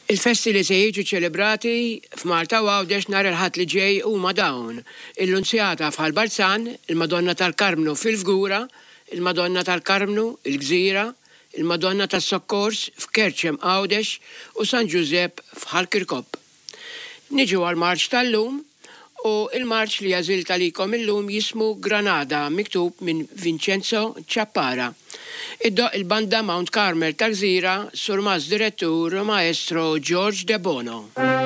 Il-festi li se jiġu ċelebrati f'Malta u Għawdex nhar il-Ħadd li ġej huma dawn, il-Lunzjata f'Ħal Balzan, il-Madonna tal-Karmnu fil-Fgura, il-Madonna tal-Karmnu, il-Gżira, il-Madonna tas-Sokkors f'Kerċem Għawdex u San Ġużepp f'Ħal Kirkop. Niġu għall-marċ tal-lum u l-marċ li għażilt għalikom illum jismu Granada miktub minn Vincenzo Ciappara. Iddoqq il-Banda Mount Carmel tal-Gżira, Surmast Direttur Maestro George Debono.